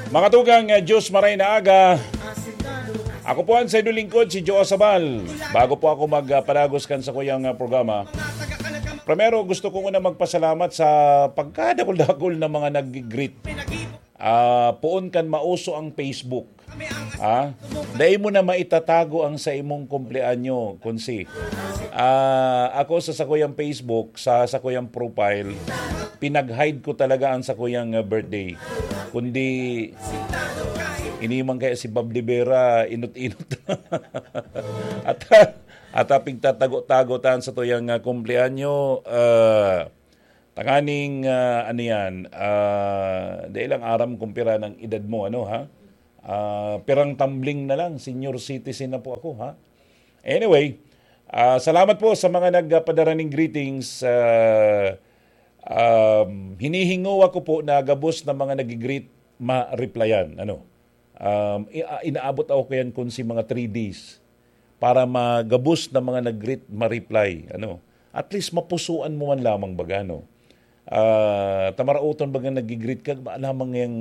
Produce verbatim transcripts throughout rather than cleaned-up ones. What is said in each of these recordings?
Mga tugang, uh, Diyos maray na aga. Ako po ang sa inyong lingkod, si Joe Sabal. Bago po ako magpadagos kan sa kuyang uh, programa, primero gusto ko muna magpasalamat sa pagkadakul-dakul na mga nag-greet. Ah, poon kan mauso ang Facebook. Ah, dai mo na maitatago ang sa imong kumpleanyo, Konsi. Ah, ako sa sakuyang Facebook, sa sakuyang profile, pinag-hide ko talaga ang sakuyang uh, birthday. Kundi, ini man kaya si Bob de Vera, inot-inot. At, at pigtatago-tago tan sa tuyang uh, kumpleanyo, uh, tanganing, uh, ano yan, uh, dai lang aram kung pira ng edad mo, ano ha? Ah, pirang tumbling na lang, senior citizen na po ako, ha? Anyway, ah, salamat po sa mga nagpadara ning greetings. Ah, um, hinihingowa ko po na gabos na mga nag-greet, ma-replyan. Ano? Um, i- ah, inaabot ako kayan kung si mga three days para magabos na mga nag-greet, ma-reply. Ano? At least mapusuan mo man lamang baga, no? Ah, tamaraoton baga nag-greet ka, maalamang yang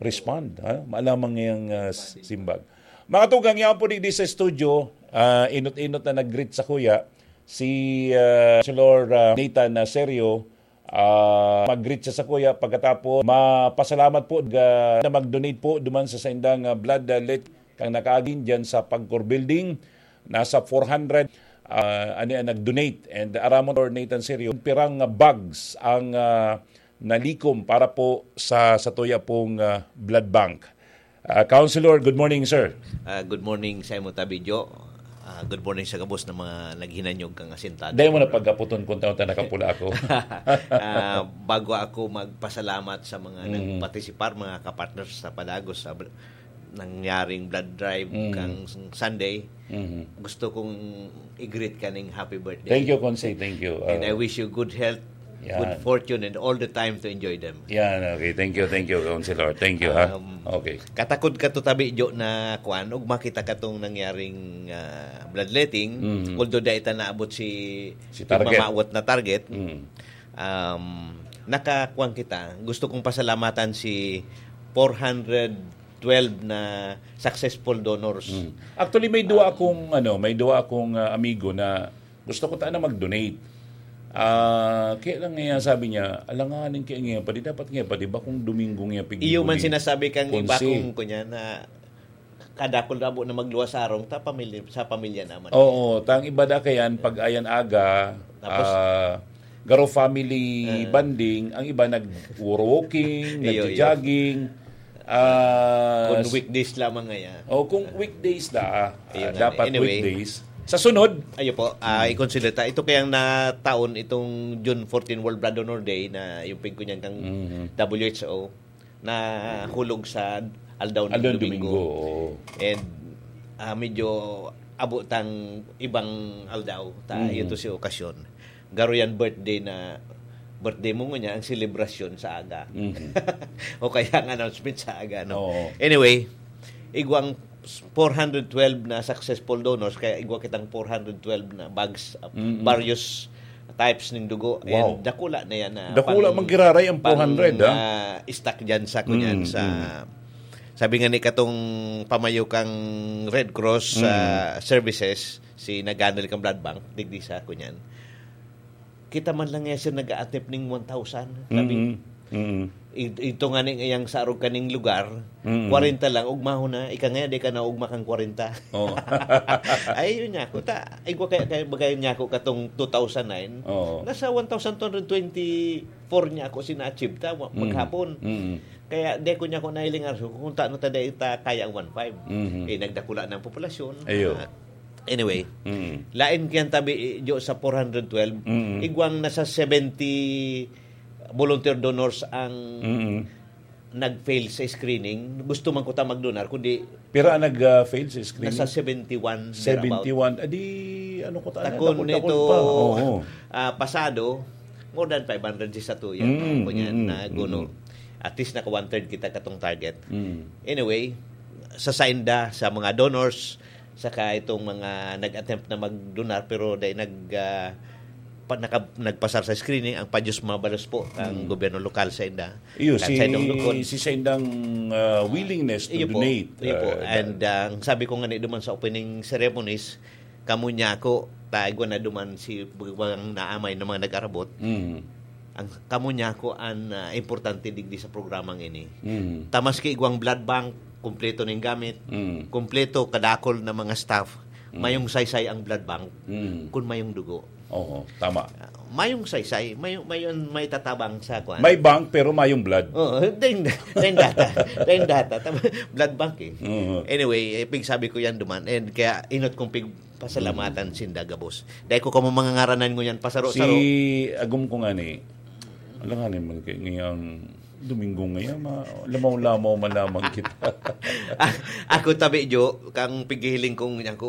respond, ha? Maalamang yang ah, simbag. Mga tugang, yan po di, di sa studio, ah, inot-inot na nag-greet sa kuya, si ah, Councilor ah, Nathan Serio, ah, mag-greet siya sa kuya. Pagkatapos, mapasalamat po ga, na mag-donate po duman sa saindang ah, blood ah, let kang nakaagin dyan sa Pagcor Building. Nasa four hundred, ah, ani ang nag-donate. And aramon or Nathan Serio, pirang ah, bags ang ah, nalikom para po sa, sa tuya pong ah, blood bank. Ah, Councilor, good morning, sir. Ah, good morning sa imo, Tabi Jo. Ah, good morning sa gabos na mga naghinanyog kang asintado. Dahil mo na pagkaputon kung taon ta nakapula ako. Ah, bago ako magpasalamat sa mga Mm. nagpartisipar, mga kapartners sa Padagos, sa bl- nangyaring blood drive Mm. kang Sunday, Mhm. gusto kong i-greet ka ning happy birthday. Thank you, Konsi. Thank you. And Ah. I wish you good health, Yan. good fortune, and all the time to enjoy them. Yan, okay. Thank you, thank you, Councilor. Thank you, ha? Um, Okay. Katakod ka to, Tabi Jo, na kwan, ug makita ka tong nangyaring ah, bloodletting. Mhm. Although dai ta naabot si, Si si target. mamawat na target. Mm. Um, nakakuan kita. Gusto kong pasalamatan si four hundred twelve na successful donors. Mm. Actually, may duwa Um, akong, ano, may duwa akong ah, amigo na gusto ko ta na mag-donate. Ah, kaya lang nga sabi niya, alanganin kaya nga pa, di dapat nga pa, di ba kung Domingo nga pig-, Iyo man sinasabi kang iba Konsi. kung kunya na kadakol na abo na magluwas sa arong ta pamilya, sa pamilya naman. Oo, tang iba da kayan, pag ayan aga, Tapos ah, garo family Ah. bonding, ang iba nag-walking, Iyo, iyo. nagja-jogging. Ah, Kung s- weekdays lamang nga yan. Oh, kung weekdays da, ah, Ayun nga. dapat Anyway. weekdays. Sa sunod, Ayo po, ah, i-consider ta. Ito kayang na taon, itong June fourteen World Blood Donor Day na yung pigkunyan kang Mhm. W H O, na hulog sa aldaw ng Aldaw ng Domingo. Domingo, oo. And ah, medyo abot ang ibang aldaw, ta Mhm. ito si okasyon. Garo yan birthday na, birthday mo ngunyan, ang selebrasyon sa aga. Mhm. O kaya ang announcement sa aga, no? Oo. Anyway, igwang four hundred twelve na successful donors, kaya igwa kitang four hundred twelve na bags, uh, Mm-mm. various types ning dugo. Wow. And dakula na yan na Dakula pang, man giraray ang pang, four hundred, ha? ah, stock dyan sa, kunyan, Mm, sa, mm. sabi nga ni katong pamayo kang Red Cross, Mm. ah, Services, si naghandle kang blood bank, digdi sa, kunyan. Kita man lang nga siya nag-a-attempt ning one thousand, sabi. Mm-mm. Mm-mm. I-, ito nga ni ngayang sa arog kaning lugar, Mm-mm. kwarenta lang, ugmahon na, ika nga, di ka na ugma kang kwarenta. Oo. Ay, yun niya ako. Ta, ay, ko kaya, kaya bagay niya ako katong two thousand nine, Oo. nasa one thousand two hundred twenty-four niya ako sina-achieve ta, wa-, Mm. maghapon. Mm. Kaya di ko niya ako nailingar, so, kung tano ta dai ta kaya ang one five. Mhm. Eh, nagdakula na ang populasyon. Ayo. Ah, anyway, Mm. lain kaya tabi, eh, jo sa four hundred twelve, Mm. igwang nasa seventy volunteer donors ang Mm. nag-fail sa screening. Gusto man ko ta magdonar, kundi Pira ang nag, ah, fail sa screening? Nasa seventy-one thereabout. Seventy-one. Adi, ano ko ta, Takon dakul-dakul nito, pa. Oo. ah, pasado, more than five hundred si satuya. Mm, Ako niyan mm, na guno. mm. At least naka one-third kita katong target. Mm. Anyway, sa sainda, sa mga donors, saka itong mga nag-attempt na mag-donar pero dai nag, ah, pa, naka, nagpasar sa screening ang Padios Mabalos po ang Mm. gobyerno lokal sa inda. Iyo, Kan si, sa indong lukon. Si sa indang ah, willingness to Iyo po. Donate. Iyo po. ah, And ah, ang sabi ko nga ni duman sa opening ceremonies, kamo niya ako, taigwa na duman si bang naamay na mga nag-arabot. mm, Ang kamo niya ako ang ah, importante digdi sa programang ini. mm, Tamas kay igwang blood bank, kumpleto ning gamit, mm, kumpleto kadakol na mga staff, mayong saysay ang blood bank mm. kung mayong dugo. Oo, tama. Ah, mayong saysay, may may may tatabang sa kwan. May bank pero mayong blood. Oh, then then data, then data, tama, blood bank eh. Oo. Anyway, eh, pigsabi ko yan duman. And kaya inot kong pigpasalamatan sinda gabos. Dahil ko kamo mga ngaranan ngunyan, pasaro-saro. Si Agum ko nga ni, alangan naman kay ngayang Domingo ngayon, ma, lamaw-lamaw man lamang kita. Ako tabi, Jo, kang pighihiling kong yan ko,